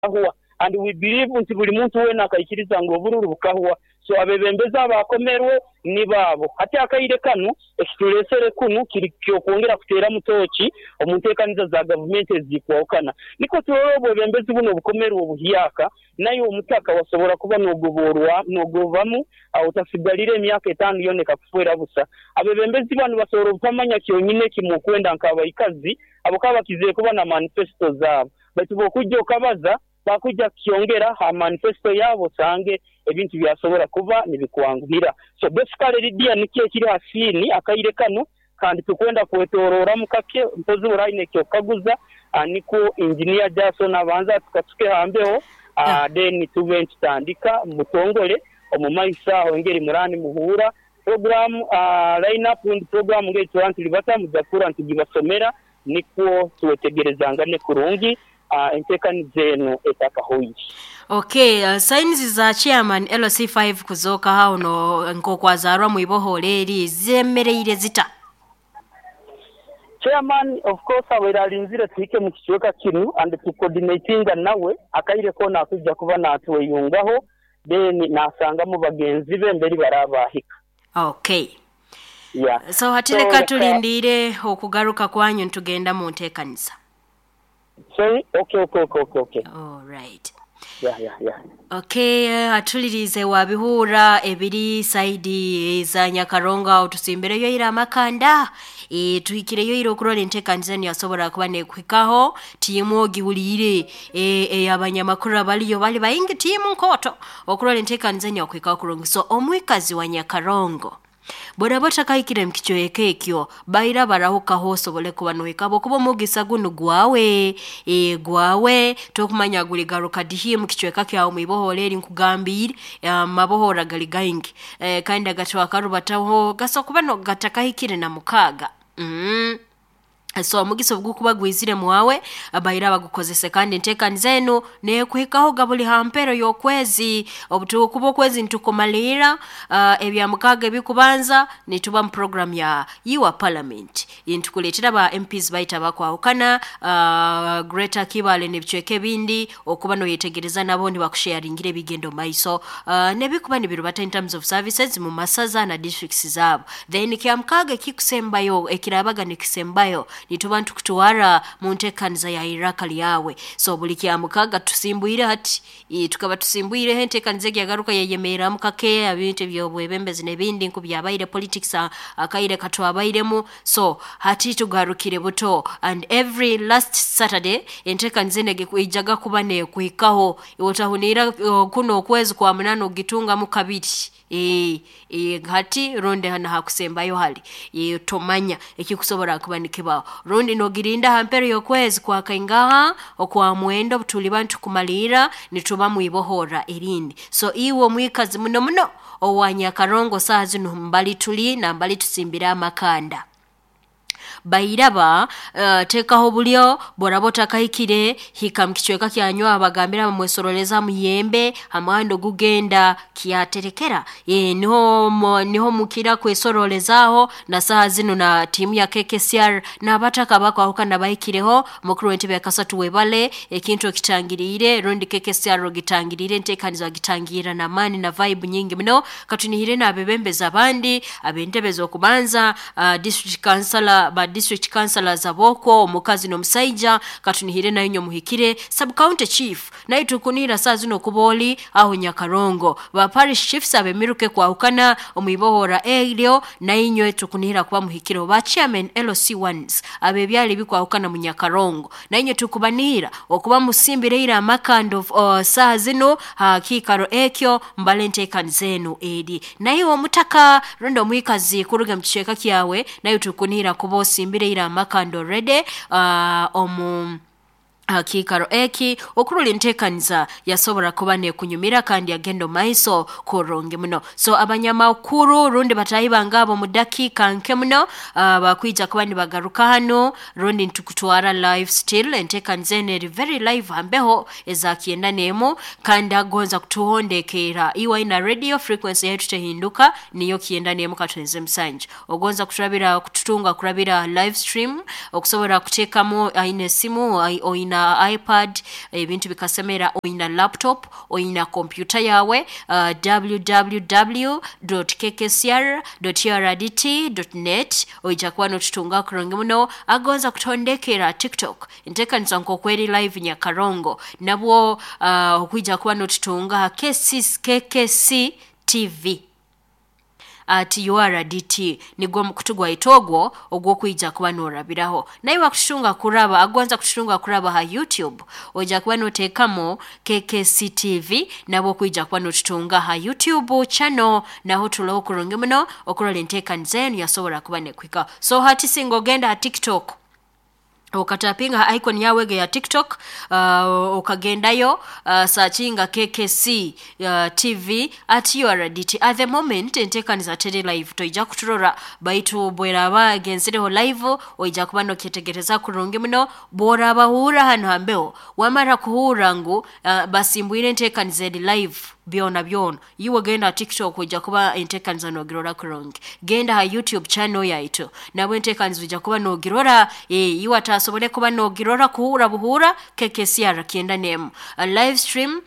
Bukahwa and we believe nti buli muntu weena akaikiriza ngu obururu bukahwa. So abebembezi abakomerwe nibo abo. Hati akaire kanu ekituresere kunu kiri ky'okwongera kuteeramu tooki omu nteekaniza za gavumenti ezikwahukana nikwo turole obwebembezi bunu obukomerwe obuhyaka naiwe omutaka wasobora kuba nogoborwa nogobamu otasigalire emyaka etaanu yoona ekakufeera busa. Abebembezi banu basobora obutamanya kyonyini ekimukwenda nk'abaikazi habwokuba bakizire kuba na manifesito zaabo. Baitu bw'okwija okabaza, bakwija kukyongera ha manifesito yaabo osange ebintu byasobora kuba nibikwanguhira. So basically Lydia nikyo ekiri ha siini akaire kanu kandi tukwenda kwetororamu kake mpozi bw'oraba oine eky'okukaguza nikwo Engineer Jason abanze atukasuke ha mbeho then tube nitutandika mu butongole omu maiso aho engeri muraba nimuhuura program line up rundi program ngeri turaba nitulibata muja kuhurra nitugibasomera. Nikwo twetegerezangane kurungi enteekaniza enu etakahoire. Ok, signs za chairman LC5 kuzooka aho no nk'okwazarwa mu ibohoola eri zemereire zita? Chairman of course abaire alinzire tuhike mu kicweka kinu and tu coordinatinga nawe akaire koona akwija kuba natweyungaho then nasangamu bagenzi be mberi baraaba bahika. Ok. Yeah. So hati So leka leka tulindiire okugaruka kwanyu nitugenda mu nteekaniza. Sorry? Okay. Alright. Yeah. Ok, atuliriize wabihuura ebiri saidi za Nyakarongo aho tusimbireyo ira amakanda e, tuhikireyo ira okurora enteekaniza enu yasobora kuba nekuhikaho tiimu ogihuliire e, ey'abanyamakuru abaliyo bali baingi tiimu nkooto okurora enteekaniza enu yakuhikaho kurungi. So omwikazi wa Nyakarongo bworaba otakahikire mu kicweka ekyo baira barahukaho osobole kuba nohika habwokuba omugisa gunu gwawe e, gwawe tokumanya guligaruka dihi mu kicweka kyawe mwibohora eri nkugambiire amabohora gali gaingi e, kandi agatwakarubataho gasobola kuba no gatakahikire na mukaaga. So omugisa obugukuba gwizire mwawe abaire abagukozese kandi enteekaniza enu neekuhikaho ga buli ha mpero y'okwezi obutukuba okwezi nitukumaliira ebya mukaaga ebikubanza nituba mu program ya Your Parliament nitukuleetera ba MPs baitu abakwahukana Greater Kibaale n'ebicweka ebindi okuba noyetegereza nabo nibakusharingira ebigenda omu maiso n'ebikuba nibirubata in terms of services mu masaza na districts zaabo. Then kya mukaaga ekikusembayo ekiraabaga nikisembayo nituba nitukutwara mu nteekaniza ya iraka lyawe. So buli kya mukaaga tusimbwire hati e, tukaba tusimbwireho enteekaniza egi yagaruka yayemerramu kake ebintu eby'obwebembezi n'ebindi nkubyabaire politics akaire katwabairemu. So hati tugarukire buto and every last Saturday enteekaniza enu eijaga kuba neekuhikaho otahuniira kuno okwezi kwa munaana ogitungamu kabiri e, e, hati rundi hana hakusembayo hali e, tomanya ekikusobora kuba nikibaho rundi nogirinda ha mpero y'okwezi kwakaingaha okwa mwenda obutuliba nitukumaliira nituba mwibohora erindi. So iwe omwikazi muno muno owa Nyakarongo saaha zinu mbali tuli na mbali tusimbire amakanda bairaba teekaho bulyo bworaba otakahikire hika mu kicweka kyanyu abagambira bamwesoroleza muyembe ha muhanda ogugenda kyaterekera e, niho niho mukira kwesorolezaaho na saaha zinu na tiimu ya KKCR n'abataka abakwahukana bahikireho mukuru w'entebe ya kasatu webale ekintu okitangiriire rundi KKCR ogitangiriire enteekaniza wagitangiira n'amaani na vibe nyingi muno katunihire n'abebembezi abandi ab'entebe z'okubanza district councillor ba district councillors ab'okwo omukazi n'omusaija katunihire nayo nyo muhikire sub county chief naye tukunihira saa zino okuba oli aho Nyakarongo ba parish chiefs ab'emiruka ekwahukana omwibohora eryo nainywe tukunihira kuba muhikireho ba chairman LC1s ab'ebyaro ebikwahukana mu Nyakarongo nainywe tukubanihira okuba musimbire ira amakanda saaha zino ha kiikaro ekyo mbale enteekaniza enu eri naye omutaka rundi omwikazi kuruga mu kicweka kyawe naye tukunihira kuba osimbire ira amakanda already omu kiikaro eki okurora enteekaniza yasobora kuba nekunyumira kandi yagenda omu maiso kurungi muno. So abanyamakuru rundi bataahi bange abo mu dakiika nke muno bakwija kuba nibagaruka hanu rundi nitukutwara live still enteekaniza enu eri very live hambeho eza kyenda n'emu kandi agonza kutuhondekeera iwe aina radio frequency yaitu tehinduka niyo 91 katwenze musanju ogonza kuturabira kututunga kurabira live stream okusobora kuteekamu aine esimu oina Oyina iPad, ebintu bikasemera, oyina laptop, oyina kompyuta yawe, www.kkcr.urdt.net oija kuba notutunga kurungi muno. Agonza kutondekera TikTok enteekaniza nk'okweri live Nyakarongo, nabwo okwija kuba notutunga KKC TV at URDT, nigwo mukutu gwaitu ogwo ogw'okwija kuba norabiraho. Naye wakututunga kuraba, agonza kututunga kuraba ha YouTube, oija kuba noteekamo KKC TV, nabwo okwija kuba notutunga ha YouTube channel, naho tuloho kurungi muno okurora enteekaniza enu yasobora kuba nekuhikaho. So hati singa ogenda ha TikTok, okatapinga ha icon yawe ege ya TikTok, okagendayo, searchinga KKC TV at URDT. At the moment enteekaniza teri live, toija kuturora, baitu bweraba egenzireho live oija kuba nokyetegereza kurungi muno. Bworabahura hanu hambeho, wamara kuhurra ngu basimbwire enteekaniza eri live byona byona, iwe genda TikTok, ojja kuba enteekaniza nogirora kurungi. Genda ha YouTube channel yaitu, nabwo enteekaniza ojja kuba nogirora. Iwe atasobole kuba nogirora kuhura buhura KKCR 91 live stream,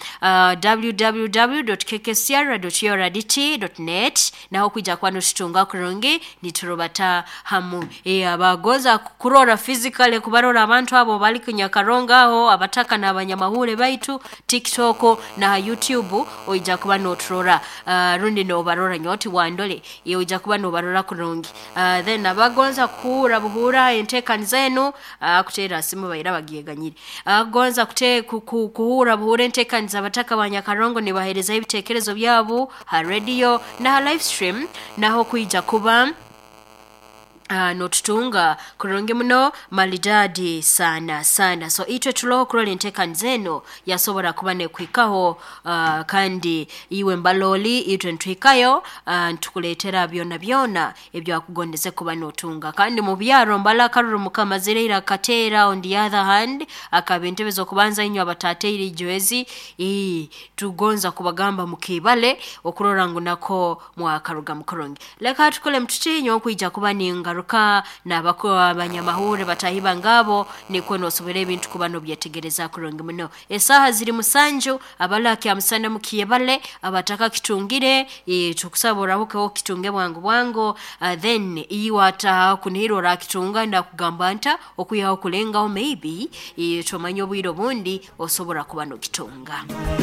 www.kkcr.urdt.net, naho kwijja kuba notutunga kurungi niturubata hamu. Abagoza kurora physically, kubarora abantu abo bali kunyakaronga aho, abataka n'abanyamahule baitu, TikTok na YouTube oija kuba noturora, rundi nobarora nyoti wandole, ye oija kuba nobarora kurungi. Then abagonza kuhura buhura enteekaniza enu, kuteera simu baira bagyeganyire. Agonza kuhura buhura enteekaniza abataka ba Nyakarongo nibaheereza ebiteekerezo byabo ha radio na ha live stream, naho kwija kuba notutunga kurungi muno malidadi sana sana. So itwe tuloho kurora enteekaniza eno yasobora kuba nekuhikaho, kandi iwe mbaloli itwe nituhikayo, nitukuleetera byona byona ebyakugondeze kuba notunga. Kandi mu byaro mbala akaruru mukamazireire akateera. On the other hand, akaba entebe z'okubanza inywe abatateire ijwezi, tugonza kubagamba mukibale okurora ngu nako mwakaruga mukurungi. Leka tukole mututinyo okwija kuba ningaruka nabako abanyamahuri batahiba ngabo, nikwo nosobora ebintu kuba nobyetegereza kurungi muno. Esaaha ziri 7, abalaki amusana mukiyebale, abataka kitungire, tukusaba orahukeho kitunge bwangu bwangu. Then iwe ataha kunihira orakitunga, ndakugamba nta okwihaho kulengaho maybe, tomanya obwire obundi osobora kuba nokitunga.